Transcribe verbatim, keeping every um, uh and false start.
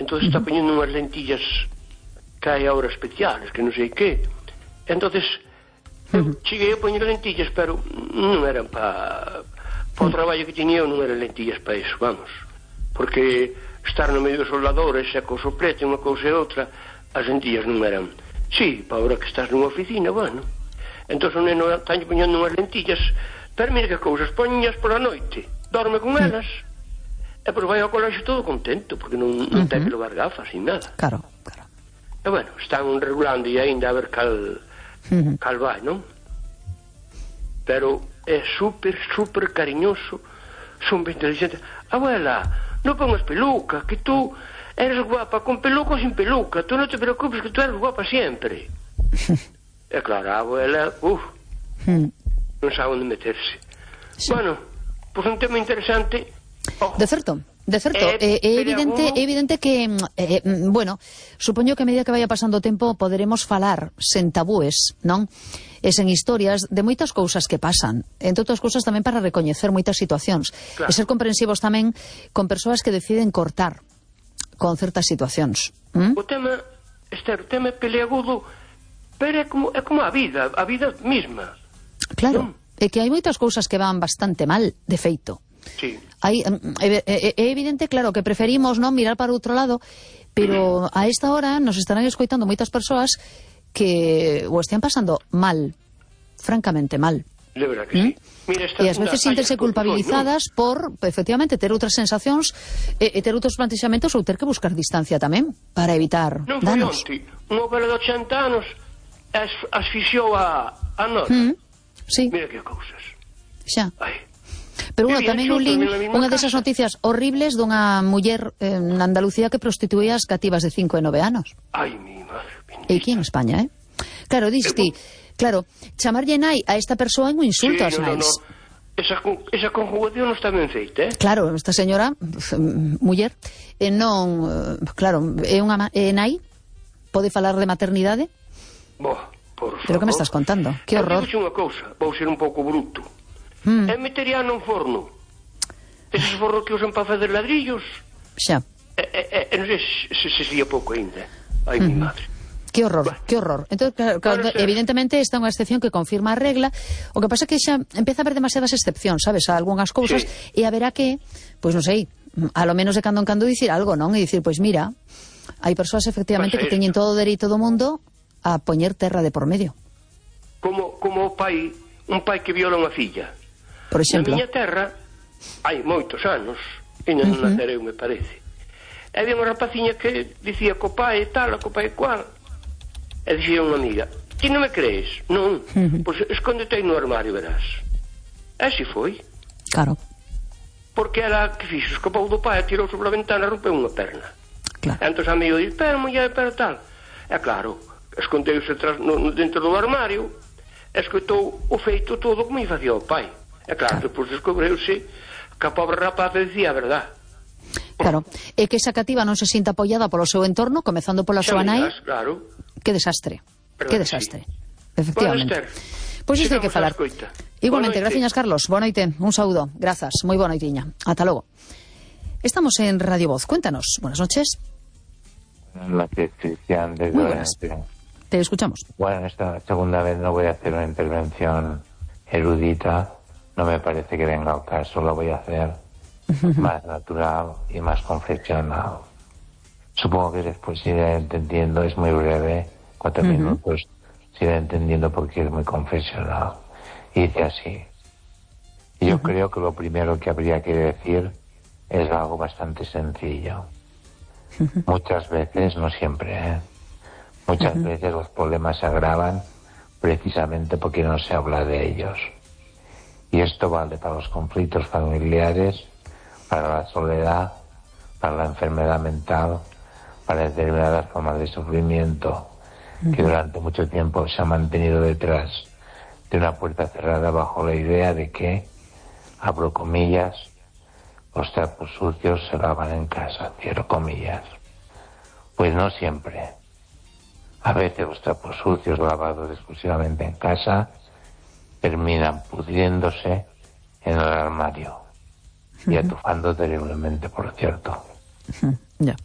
entonces está poñendo unhas lentillas que hai ahora especiales, que non sei que. Entonces eu cheguei a poñer lentillas, pero non eran para pa o traballo que tiña eu, non eran lentillas para iso, vamos, porque estar no medio dos soldadores e co soplete unha cousa e outra, as lentillas non eran. Sí, para ahora que estás nunha oficina, bueno, entón o neno está poñendo unhas lentillas, pero mira que cousas, poñas pola noite, dorme con elas, e pois vai ao colexio todo contento, porque non, non ten que levar gafas ni nada. Claro, claro. E bueno, están regulando e ainda a ver cal, uh-huh. cal vai, non? Pero é super, super cariñoso, son ben inteligente. Abuela, non pongas peluca, que tú eres guapa con peluca ou sin peluca, tú non te preocupes que tú eres guapa sempre. E claro, a abuela, uff, uh, non sabe onde meterse. Sí. Bueno, pois un tema interesante. Oh. De certo. De certo, é eh, evidente, é evidente que, eh, bueno, supoño que a medida que vaya pasando o tempo poderemos falar sen tabúes, non? E sen historias de moitas cousas que pasan, entre outras cousas tamén para recoñecer moitas situacións, claro. E ser comprensivos tamén con persoas que deciden cortar con certas situacións. ¿Mm? O tema, Esther, o tema é peleagudo, pero é como, é como a vida, a vida mesma. Claro, ¿no? É que hai moitas cousas que van bastante mal, de feito. Sí. Hai, é, é, é evidente, claro, que preferimos non mirar para outro lado, pero a esta hora nos estarán escoitando moitas persoas que o están pasando mal, francamente mal. De verdad que ¿Mm? sí. Mira, e ás veces sintense culpabilizadas ¿no? por, efectivamente, ter outras sensacións e, e ter outros plantexamentos ou ter que buscar distancia tamén para evitar non danos. Non foi onte, unha vela de ochenta anos as, asfixiou a, a nora. ¿Mm? Sí. Mira que cousas. Xa. Ai. Pero bueno, tamén un lin unha desas noticias horribles dunha muller eh, na Andalucía que prostituía as cativas de cinco e nove anos. Ai, mi madre. E aquí en España, eh? Claro, diste, claro, chamarlle nai a esta persoa é un insulto ás sí, no, nais. No, no. Esa, esa conjugación non está ben feita, eh? Claro, esta señora, muller, eh, non, eh, claro, é unha é nai, pode falar de maternidade? Boa, por favor. Pero que me estás contando? Que horror. Eu digo unha cousa, vou ser un pouco bruto. Mm. E metería nun forno. Eses fornos que usan para fazer ladrillos. Xa. E, e, e non sei se se sería pouco ainda. Ai, mm. mi madre. Que horror, bueno. que horror. Entón, claro, claro, evidentemente esta é unha excepción que confirma a regla. O que pasa é que xa empeza a haber demasiadas excepcións, sabes, a algunhas cousas, sí. E haberá que, pois non sei, a lo menos de cando en cando dicir algo, non? E dicir, pois mira, hai persoas efectivamente que teñen todo o dereito do mundo a poñer terra de por medio. Como, como o pai, un pai que viola unha filla. Por exemplo. Na miña terra, hai moitos anos, e non uh-huh. nacereu, me parece. E había unha rapaciña que dicía co pai tal, co pai cual. E dicía unha amiga, ti non me crees? Non, uh-huh. pois escóndete aí no armario, verás. E así foi. Claro. Porque ela, que fixo, escapou do pai, tirou sobre a ventana e rompeu unha perna. Claro. E entón a amigo dice, pero muller, pero tal. E claro, escondeuse no, no, dentro do armario, e escoitou o feito todo como lle facía o pai. E claro, depois descobreuse que a pobre rapaza decía a verdad. Claro, é que esa cativa non se sinta apoiada polo seu entorno, comezando pola súa nai. Claro. Que desastre, Pero que desastre, sí. Efectivamente. Pois pues isto hai que falar. Igualmente, graciñas Carlos, boa noite, un saúdo, grazas, moi boa noitiña, ata logo. Estamos en Radio Voz, cuéntanos, buenas noches. Buenas noches, Cristian, desde muy buenas. Te escuchamos. Bueno, esta segunda vez no voy a hacer una intervención erudita. No me parece que venga al caso, lo voy a hacer más natural y más confesional. Supongo que después se irá entendiendo, es muy breve, cuatro uh-huh. minutos, se irá entendiendo porque es muy confesional. Y dice así. Yo uh-huh. creo que lo primero que habría que decir es algo bastante sencillo. Uh-huh. Muchas veces, no siempre, ¿eh? Muchas uh-huh. veces los problemas se agravan precisamente porque no se habla de ellos. Y esto vale para los conflictos familiares, para la soledad, para la enfermedad mental, para determinadas formas de sufrimiento uh-huh. que durante mucho tiempo se han mantenido detrás de una puerta cerrada bajo la idea de que, abro comillas, los trapos sucios se lavan en casa, cierro comillas. Pues no siempre. A veces los trapos sucios lavados exclusivamente en casa terminan pudriéndose en el armario y atufando terriblemente, por cierto. Ya.